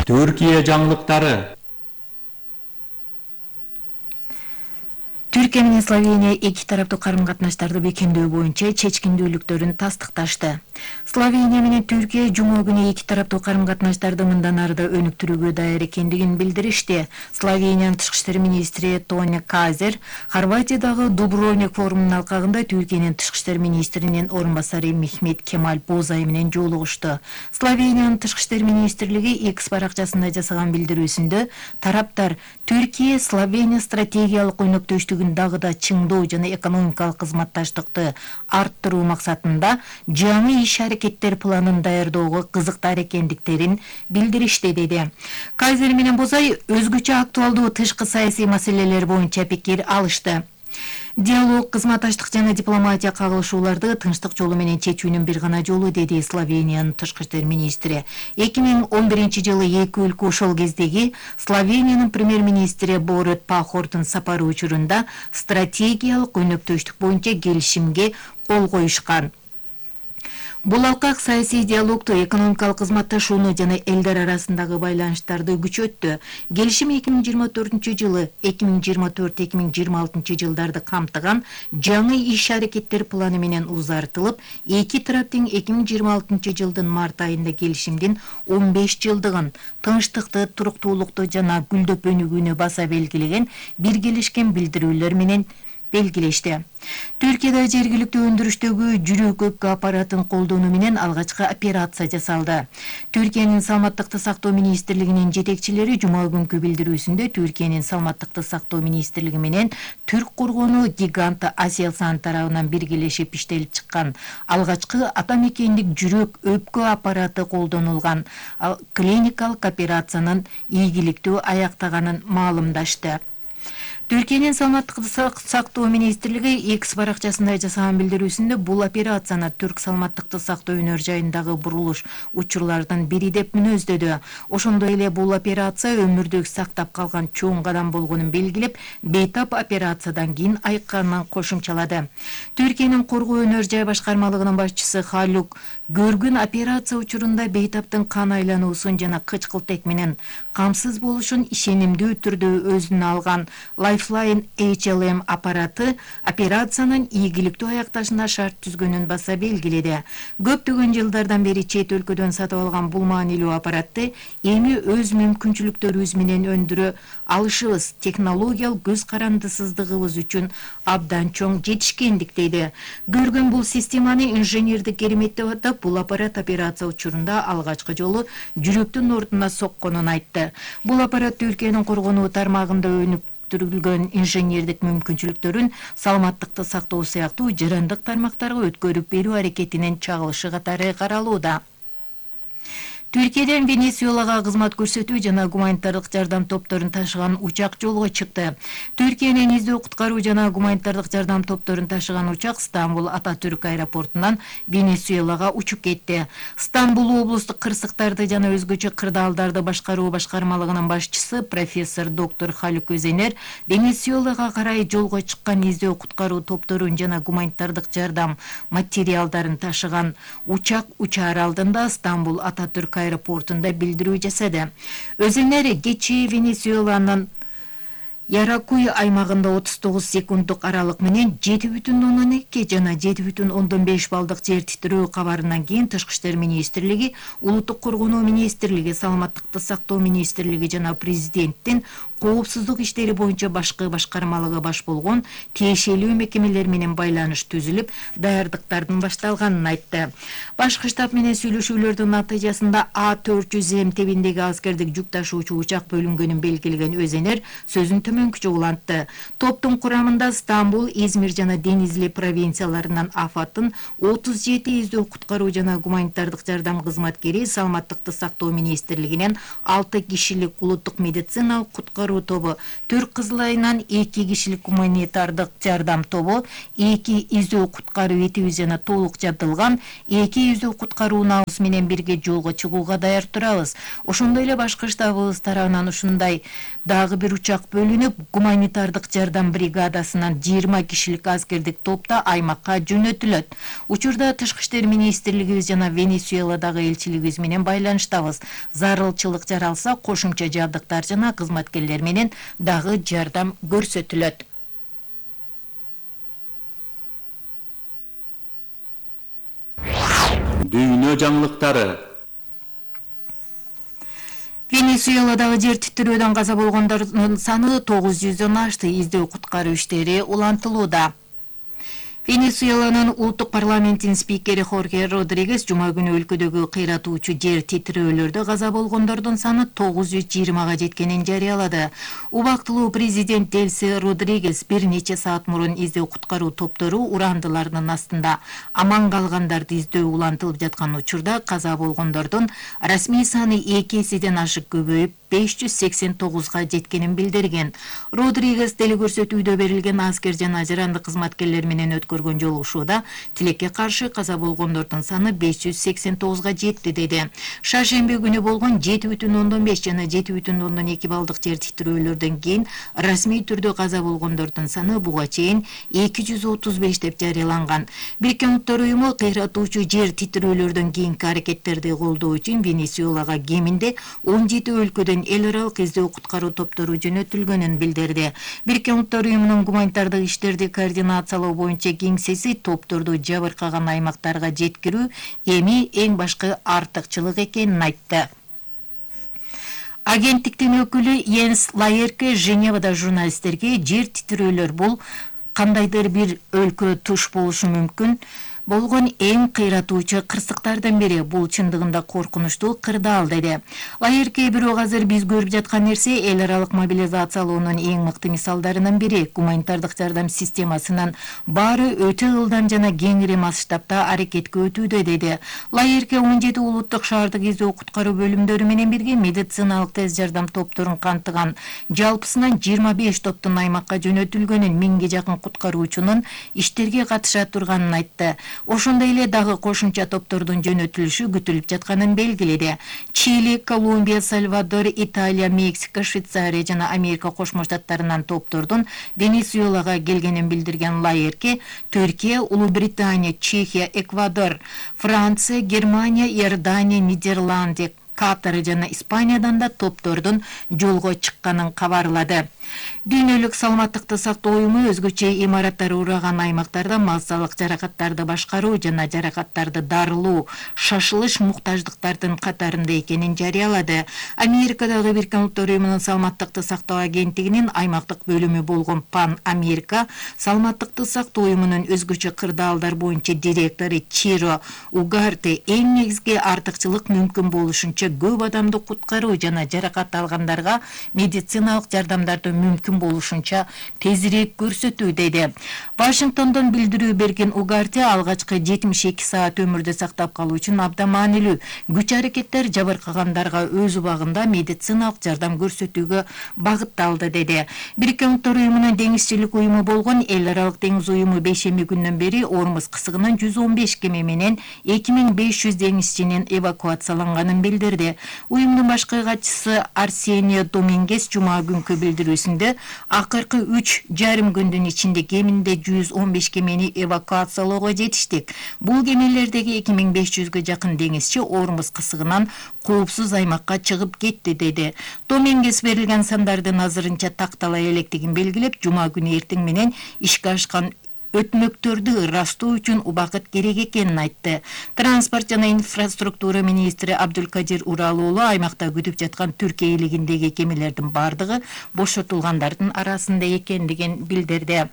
Түркия жаңылыктары. Түркия менен Словения эки тараптуу карым-катнаштарды бекемдөө боюнча чечкиндүүлүктөрүн тастыкташты. Словения менен Түркия жума күнү эки тараптуу карым-катнаштарды мындан ары да өнүктүрүүгө даяр экендигин билдиришти. Словениянын тышкы иштер министри Тони Казер Хорватиядагы Дубровник форумунун алкагында Түркиянын тышкы иштер министринин орун басары Мехмет Кемаль Бозай менен жолугушту. Словениянын тышкы иштер министрлиги X баракчасында жасаган билдирүүсүндө тараптар Түркия Словения стратегиялык өнөктөштүгүн дагы да чыңдоо жана экономикалык кызматташтыкты арттыруу максатында жаңы иш-аракеттер планын даярдоого кызыктар экендиктерин билдиришти, деди. Кайзер менен Бозай өзгөчө актуалдуу тышкы саясий маселелер боюнча пикир алышты. Диалог, кызматташтык жана дипломатия кагылышууларды тынчтык жолу менен чечүүнүн бир гана жолу, деди Словениянын тышкы иштер министри. 2011-жылы эки өлкө ошол кездеги Словениянын премьер-министри Борут Пахордун сапары учурунда стратегиялык өнөктөштүк боюнча келишимге кол коюшкан. Бул алкак саясий диалогду, экономикалык кызматташууну жана элдер арасындагы байланыштарды күчөттү. Келишим 2024-жылы 2024-2026 жылдарды камтыган жаңы иш-аракеттер планы менен узартылып, эки тарап тең 2026 жылдын март айында келишимдин 15 жылдыгын, тынчтыкты, туруктуулукту жана гүлдөп өнүгүүнү баса белгилеген биргелешкен билдирүүлөр менен белгилешти. Түркияда жергиликтүү өндүрүштөгү жүрөк өпкө аппаратын колдонуу менен алгачкы операция жасалды. Түркиянын саламаттыкты сактоо министрлигинин жетекчилери жума күнкү билдирүүсүндө Түркиянын саламаттыкты сактоо министрлиги менен түрк коргонуу гиганты Aselsan тарабынан биргелешип иштелип чыккан алгачкы атамекендик жүрөк өпкө аппараты колдонулган клиникалык операциянын ийгиликтүү аяктаганын маалымдашты. Түркиянын саламаттыкты сактоо министрлиги X баракчасында жасаган билдирүүсүндө бул операцияны түрк саламаттыкты сактоо өнөр жайындагы бурулуш учурлардын бири деп мүнөздөдү. Ошондой эле бул операция өмүрдүк сактап калган чоң кадам болгонун белгилеп, бейтап операциядан кийин айыкканын кошумчалады. Түркиянын коргоо өнөр жай башкармалыгынын башчысы Халук көргөн операция учурунда бейтаптын кан айлануусун жана кычкылтек менен камсыз болушун ишенимдүү түрдө өзүнө алган Lifeline HLM аппараты операциянын ийгиликтүү аякташына шарт түзгөнүн баса белгиледи. Көптөгөн жылдардан бери чет өлкөдөн сатып алган бул маанилүү аппаратты эми өз мүмкүнчүлүктөрүбүз менен өндүрө алышыбыз, технологиялык көз карандысыздыгыбыз үчүн абдан чоң жетишкендик, дейди. Көргөн бул системаны инженердик керемет деп атап, бул аппарат операция учурунда алгачкы жолу жүрөктүн ордуна сокконун айтты. Бул аппарат Түркиянын коргонуу тармагында өнүктүрүлгөн инженердик мүмкүнчүлүктөрүн саламаттыкты сактоо сыяктуу жарандык тармактарга өткөрүп берүү аракетинин чагылышы катары каралууда. Түркиядан Венесуэлага кызмат көрсөтүү жана гуманитардык жардам топторун ташыган учак жолго чыкты. Түркиянын издөө куткаруу жана гуманитардык жардам топторун ташыган учак Стамбул Ататүрк аэропортунан Венесуэлага учуп кетти. Стамбул облустук кырсыктарды жана өзгөчө кырдаалдарды башкаруу башкармалыгынын башчысы профессор доктор Халук Өзенер Венесуэлага карай жолго чыккан издөө куткаруу топторун жана гуманитардык жардам материалдарын ташыган учак учаар алдында Стамбул Ататүрк аэропортунда билдирүү жасады. Өзенер кечээ Венесуэланын Яракуй аймагында 39 секунддук аралык менен 7,2 жана 7,5 балдык жер титирөө кабарынан кийин тышкы иштер министрлиги, улуттук коргонуу министрлиги, саламаттыкты сактоо министрлиги жана президенттин коопсуздук иштери боюнча башкы башкармалыгы баш болгон тиешелүү мекемелер менен байланыш түзүлүп, даярдыктардын башталганын айтты. Башкы штаб менен сүйлөшүүлөрдүн натыйжасында А400М тебиндеги аскердик жүк ташуучу учак бөлүнгөнүн белгилеген Өзенер сөзүн төмөнкүчө улантты. Топтун курамында Стамбул, Измир жана Денизли провинцияларынан афаттын 37 издөө куткаруу жана гуманитардык жардам кызматкери, саламаттыкты сактоо министрлигинен 6 кишилик улуттук медициналык куткаруу куткаруу тобу, Түрк Кызыл айынан 2 кишилик гуманитардык жардам тобу, 2 издөө куткаруу этиби жана толук жабдылган 2 издөө куткаруу набыз менен бирге жолго чыгууга даяр турабыз. Ошондой эле башкы штабыбыз тарабынан ушундай дагы бир учак бөлүнүп, гуманитардык жардам бригадасынан 20 кишилик аскердик топта аймакка жөнөтүлөт. Учурда Тышкы иштер министрлигибиз жана Венесуэладагы элчилигибиз менен байланыштабыз. Зарылчылык жаралса, кошумча жабдыктар жана кызматкерлер менен дагы жардам көрсөтүлөт. Дүйнө жаңылыктары. Венесуэладагы жер титирөөдөн каза болгондордун саны 900дөн ашты. Издөө куткаруу иштери улантылууда. Венесуэланын улуттук парламентинин спикери Хорхе Родригес жума күнү өлкөдөгү кыйратуучу жер титирөөлөрдө каза болгондордун саны 920га жеткенин жарыялады. Убактылуу президент Делси Родригес бир нече саат мурун издөө куткаруу топтору урандылардын астында аман калгандарды издөө улантылып жаткан учурда каза болгондордун расмий саны 2 эседен ашык көбөйүп 589га жеткенин билдирген. Родригес деле көрсөтүүдө берилген аскер жана жарандык кызматкерлер менен өткөргөн жолугушууда тилекке каршы каза болгондордун саны 589га жетти деди. Шаршемби күнү болгон 7,5 жана 7,2 балдык жер титирөөлөрдөн кийин расмий түрдө каза болгондордун саны буга чейин 235 деп жарыяланган. Бириккен Улуттар уюму кыйратуучу жер титирөөлөрдөн кийинки аракеттерди колдоо үчүн Венесуэлага кеминде 17 өлкөдөн эл аралык издөө куткаруу топтору жөнөтүлгөнүн билдирди. Бириккен Улуттар уюмунун гуманитардык иштерди координациялоо боюнча кеңсеси топторду жабыркаган аймактарга жеткирүү эми эң башкы артыкчылык экенин айтты. Агенттиктин өкүлү Йенс Лаерке Женевада журналисттерге жер титирөөлөр бул кандайдыр бир өлкө туш болушу мүмкүн болгон эң кыйратуучу кырсыктардын бири, бул чындыгында коркунучтуу кырдаал деди. Лаерке бирок азыр биз көрүп жаткан нерсе эл аралык мобилизациялоонун эң мыкты мисалдарынын бири. Гуманитардык жардам системасынын баары өтө ылдам жана кеңири масштабта аракетке өтүүдө деди. Лаерке 17 улуттук шаардык издөө куткаруу бөлүмдөрү менен бирге медициналык тез жардам топторун камтыган жалпысынан 25 топтун аймакка жөнөтүлгөнүн, 1000ге жакын куткаруучунун иштерге катыша турганын айтты. Ошондой эле дагы кошумча топтордун жөнөтүлүшү күтүлүп жатканын белгиледи. Чили, Колумбия, Сальвадор, Италия, Мексика, Швейцария жана Америка Кошмо Штаттарынан топтордун Венесуэлага келгенин билдирген Лаерке, Түркия, Улуу Британия, Чехия, Эквадор, Франция, Германия, Иордания, Нидерланды, Катар жана Испаниядан да топтордун жолго чыкканын кабарлады. Дүйнөлүк саламаттыкты сактоо уюму өзгөчө имараттар ураган аймактарда массалык жаракаттарды башкаруу жана жаракаттарды дарылоо, шашылыш муктаждыктардын катарында экенин жарыялады. Америкадагы Бириккен Улуттар уюмунун саламаттыкты сактоо агенттигинин аймактык бөлүмү болгон Пан Америка саламаттыкты сактоо уюмунун өзгөчө кырдаалдар боюнча директору Чиро Угарте эң негизги артыкчылык мүмкүн болушунча көп адамды куткаруу жана жаракат алгандарга медициналык жардамдарды мүмкүн болушунча тезирээк көрсөтүү деди. Вашингтондон билдирүү берген Угарте алгачкы 72 саат өмүрдө сактап калуу үчүн абдан маанилүү күч-аракеттер жабыркагандарга өз убагында медициналык жардам көрсөтүүгө багытталды деди. Бириккен Улуттар уюмунун деңизчилик уюму болгон Эл аралык деңиз уюму бейшемби күндөн бери Ормуз кысыгынан 115 кеме менен 2500 деңизчинин эвакуацияланганын билдирди. Уюмдун башкы катчысы Арсенио Домингес жума күнкү билдирүүсүндө акыркы 3,5 күндүн ичинде кеминде 115 кемени эвакуациялоого жетиштик. Бул кемелердеги 2500га жакын деңизчи Ормуз кысыгынан коопсуз аймакка чыгып кетти деди. Домингес берилген сандардын азырынча такталай электигин белгилеп, жума күнү эртең менен ишке ашкан өтмөктөрдү ырастоо үчүн убакыт керек экенин айтты. Транспорт жана инфраструктура министри Абдулкадир Уралуулу аймакта күтүп жаткан Түркия элигиндеги кемелердин бардыгы бошотулгандардын арасында экендигин билдирди.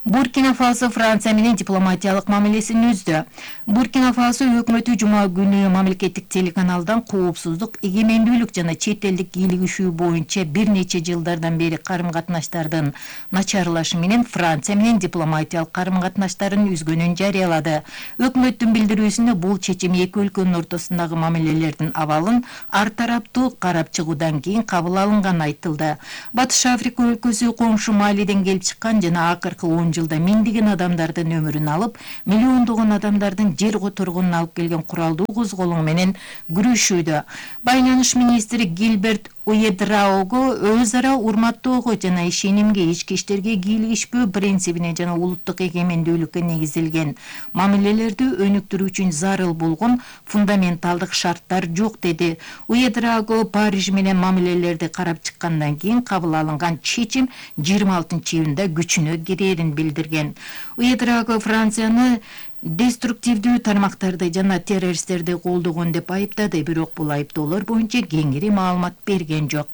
Буркина Фасо Франция менен дипломатиялык мамилесин үздү. Буркина Фасо өкмөтү жума күнү мамлекеттик телеканалдан коопсуздук, эгемендүүлүк жана чет элдик кийлигишүү боюнча бир нече жылдардан бери карым-катнаштардын начарлашы менен Франция менен дипломатиялык карым-катнаштарын үзгөнүн жарыялады. Өкмөттүн билдирүүсүндө бул чечим эки өлкөнүн ортосундагы мамилелердин абалын ар тараптуу карап чыгуудан кийин кабыл алынганы айтылды. Батыш Африка өлкөсү коңшу Малиден келип чыккан жана акыркы 10 жылда миңдеген адамдардын өмүрүн алып, миллиондогон адамдардын жер которгонун алып келген куралдуу козголоң менен күрөшүүдө. Байланыш министри Гилберт Уедраого өз ара урматтоого жана ишенимге, ички иштерге кийлигишпөө принцибине жана улуттук эгемендүүлүккө негизилген мамилелерди өнүктүрүү үчүн зарыл болгон фундаменталдык шарттар жок деди. Уедраого Париж менен мамилелерди карап чыккандан кийин кабыл алынган чечим 26-июнда күчүнө кирерин билдирген. Уедраого Францияны деструктивдүү тармактарды жана террористтерди колдогон деп айыптады, бирок бул айыптоолор боюнча кеңири маалымат берген жок.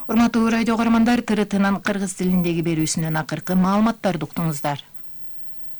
Урматтуу радио каармандар, ТРТнын кыргыз тилиндеги берүүсүнөн акыркы маалыматтарды уктуңуздар.